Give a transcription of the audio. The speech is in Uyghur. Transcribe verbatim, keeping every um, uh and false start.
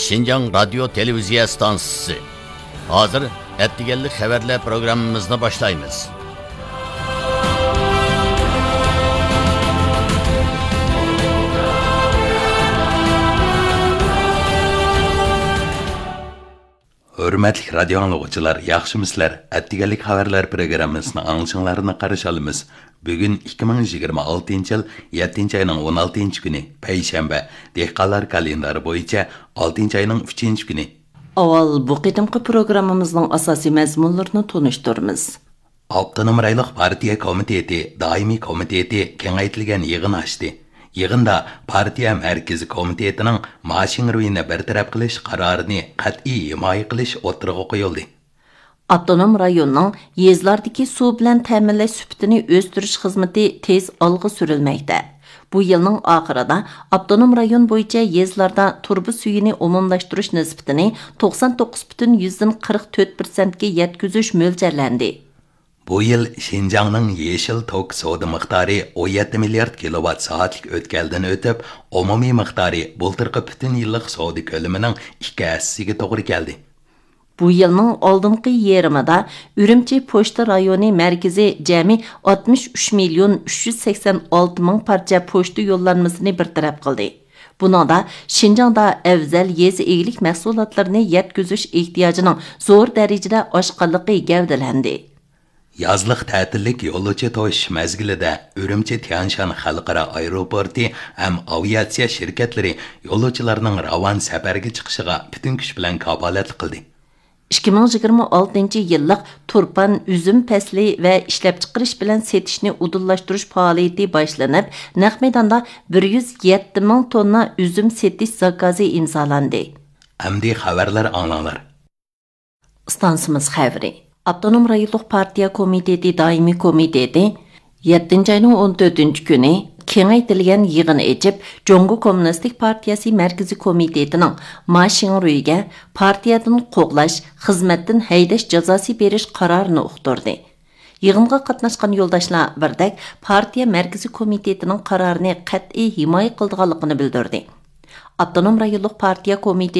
شىنجاڭ رادىيو تېلېۋىزىيە ئىستانسىسى. ھازىر ئەتىگەنلىك خەۋەرلەر پروگراممىمىزنى باشلايمىز. ھۆرمەتلىك رادىيو ئاڭلىغۇچىلار، ياخشىمۇسىلەر؟ ئەتىگەنلىك خەۋەرلەر پروگراممىسىنى ئاڭلىشىڭلارنى قارشى ئالىمىز. بۈگۈن ئىككى مىڭ يىگىرمە ئالتىنچى يىل يەتتىنچى ئاينىڭ ئون ئالتىنچى كۈنى، پەيشەنبە، دېھقانلار كالېندارى بويىچە ئالتىنچى ئاينىڭ ئۈچىنچى كۈنى. ئاۋۋال بۇ قېتىمقى پروگراممىمىزنىڭ ئاساسىي مەزمۇنلىرىنى تونۇشتۇرىمىز. ئاپتونوم رايونلۇق پارتىيە كومىتېتى دائىمىي كومىتېتى كېڭەيتىلگەن يىغىن ئاچتى. يىغىندا پارتىيە مەركىزىي كومىتېتىنىڭ ما شىڭرۇينى بىر تەرەپ قىلىش قارارىنى قەتئىي ھىمايە قىلىش ئوتتۇرىغا قويۇلدى. ئاپتونوم رايوننىڭ يېزىلاردىكى سۇ بىلەن تەمىنلەش سۈپىتىنى ئۆستۈرۈش خىزمىتى تېز ئالغا سۈرۈلمەكتە. بۇ يىلنىڭ ئاخىرىدا ئاپتونوم رايون بويىچە يېزىلاردا تۇرۇبا سۈيىنى ئومۇملاشتۇرۇش نىسبىتىنى توقسان توققۇز پۈتۈن يۈزدىن قىرىق تۆت پىرسەنتكە يەتكۈزۈش مۆلچەرلەندى. بۇ يىل شىنجاڭنىڭ يېشىل توك سودا مىقدارى ئون يەتتە مىليارد كىلوۋات سائەتلىك ئۆتكەلدىن ئۆتۈپ، ئومۇمىي مىقدارى بۇلتۇرقى پۈتۈن يىللىق سودا كۆلىمىنىڭ ئىككى ھەسسىسىگە توغرا كەلدى. بۇ يىلنىڭ ئالدىنقى يېرىمىدا ئۈرۈمچى پوچتا رايونى مەركىزى جەمئىي ئاتمىش ئۈچ مىليون ئۈچ يۈز سەكسەن ئالتە مىڭ پارچە پوچتا يوللانمىسىنى بىر تەرەپ قىلدى. بۇنىڭدا شىنجاڭدا ئەۋزەل يېزا ئىگىلىك مەھسۇلاتلىرىنى يەتكۈزۈش ئېھتىياجىنىڭ زور دەرىجىدە ئاشقانلىقى گەۋدىلەندى. يازلىق تەتىللىك يولۇچى توشۇش مەزگىلىدە ئۈرۈمچى تيەنشان خەلقئارا ئايروپورتى ھەم ئاۋىئاتسىيە شىركەتلىرى يولۇچىلارنىڭ راۋان سەپەرگە چىقىشىغا پۈتۈن كۈچ بىلەن كاپالەتلىك قىلدى. ئىككى مىڭ يىگىرمە ئالتىنچى يىللىق تۇرپان ئۈزۈم پەسلى ۋە ئىشلەپچىقىرىش بىلەن سېتىشنى ئۇدۇللاشتۇرۇش پائالىيىتى باشلىنىپ، نەق مەيداندا بىر يۈز يەتتە مىڭ توننا ئۈزۈم سېتىش زاكازى ئىمزالاندى. ئەمدى خەۋەرلەر ئاڭلاڭلار. ئىستانسىمىز خەۋىرى. ئاپتونوم رايونلۇق پارتىيە كومىتېتى دائىمىي كومىتېتى يەتتىنچى ئاينىڭ ئون تۆتىنچى كۈنى كېڭەيتىلگەن يىغىن ئېچىپ، جۇڭگو كوممۇنىستىك پارتىيەسى مەركىزىي كومىتېتىنىڭ ما شىڭرۇيگە پارتىيەدىن قوغلاش، خىزمەتتىن ھەيدەش جازاسى بېرىش قارارىنى ئۇقتۇردى. يىغىنغا قاتناشقان يولداشلار بىردەك پارتىيە مەركىزىي كومىتېتىنىڭ قارارىنى قەتئىي ھىمايە قىلىدىغانلىقىنى بىلدۈردى. ئاپتونوم رايونلۇق پارتىيە كومىتېتى